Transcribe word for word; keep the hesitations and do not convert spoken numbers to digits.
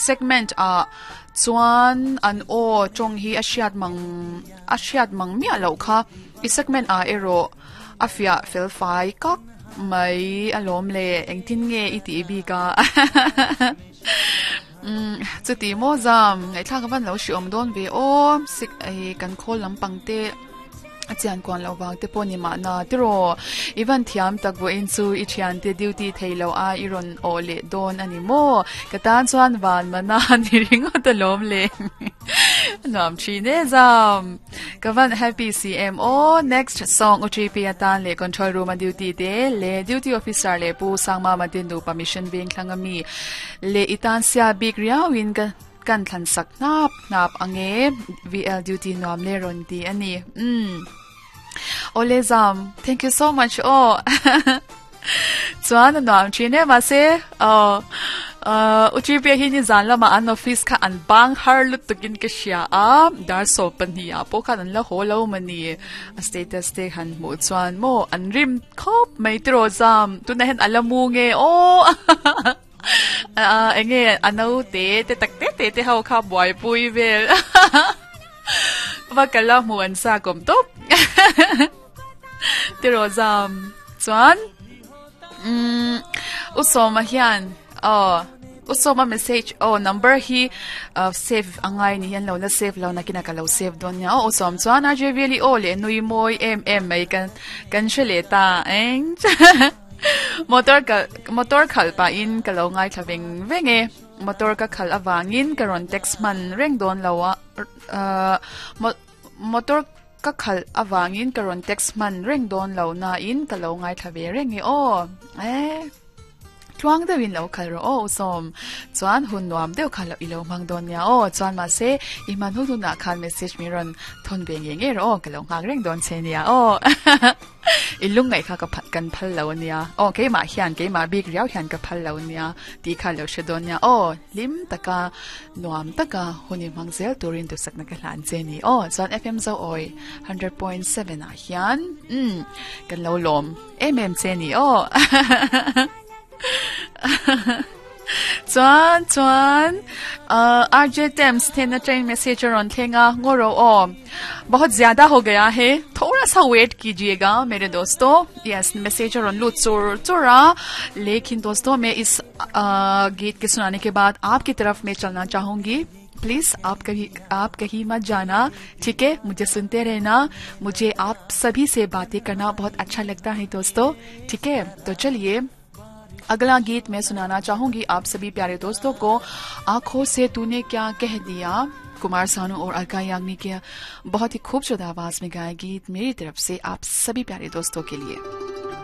Segment ah chuan an aw tawng hi a hriat mang a hriat mang miah loh kha i segment ah erawh a fiah fel fai kak mai a lawm le engtin nge i tih bik a um chuti maw zam ngaihthlak avan lo hri awm dawn ve aw sik ei kan khawl lampang te a chian kuan lo wang te pawh ni mahna tiraw i van thiam tak vawiin chu i thian te duty thei lo a i rawn aw leh dawn ani maw ka tan chuan van mana ni ringawt a lawm le nuam thin e zam ka van happy si em aw next song U T P atan leh control room a duty te le duty officer leh pu Sangma Matin nu permission veng thlang ami le itan sia bik riauin ka kan thlan sak hnap hnap ange V L duty nuam le rawn ti ani um Ole zam thank you so much oh chuan nuam thin e ma se oh uh U T P hi ni zan lama an office kha an bang har lut tukin ka hria a dar so pahnih ah pawh khan an la haw lo mani a status te han hmuh chuan maw an rim khawp mai tiraw zam tunah hian ala mu nge aw enge a no te te tak te te te ho kha buai pui vel va kala hmu an sa kawm tawp tiraw zam chuan um usawma hian oh usawma message oh number hi uh, save angai ni hian lo la save lo nakina ka lo save dawn nia oh usawm chuan R J really aw le nui mawi em em mai kan kan hre leh ta eng motor ka motor khal pa in ka lo ngai thla veng veng e motor ka khal awangin ka rawn text man reng dawn lo a uh, motor ka khal awangin ka rawn text man reng dawn lo na in ka lo ngai thla ve reng e aw eh tluang deuhin lo khal ro aw usawm chuan hun nuam deuh kha lo ilo mang dawn nia aw chuan ma se i man hu na khan message mi rawn thon ve nge nge ro aw ka lo nghak reng dawn che nia aw i lung ngai kha ka phat kan phal lo nia aw keimah hian keimah bik riau hian ka phal lo nia ti kha lo hre dawn nia aw lim taka nuam taka huni mang zel turin tu sakna ka hlan che ni aw chuan F M zo oi one hundred point seven ah hian um kan lo lawm em em che ni aw chuan chuan R J Thames then train message ron thenga ngoro o bahut zyada ho gaya hai thoda sa wait कीजिएगा मेरे दोस्तों yes message Ron लू चुर चुरा लेकिन दोस्तों मैं इस आ, गीत के सुनाने के बाद आपकी तरफ मैं चलना चाहूंगी प्लीज आप कहीं आप कहीं मत जाना ठीक है मुझे सुनते रहना मुझे आप सभी से बातें करना बहुत अच्छा लगता है दोस्तों ठीक है तो चलिए अगला गीत मैं सुनाना चाहूंगी आप सभी प्यारे दोस्तों को आंखों से तूने क्या कह दिया कुमार सानू और अलका याग्निक के बहुत ही खूबसूरत आवाज में गाया गीत मेरी तरफ से आप सभी प्यारे दोस्तों के लिए।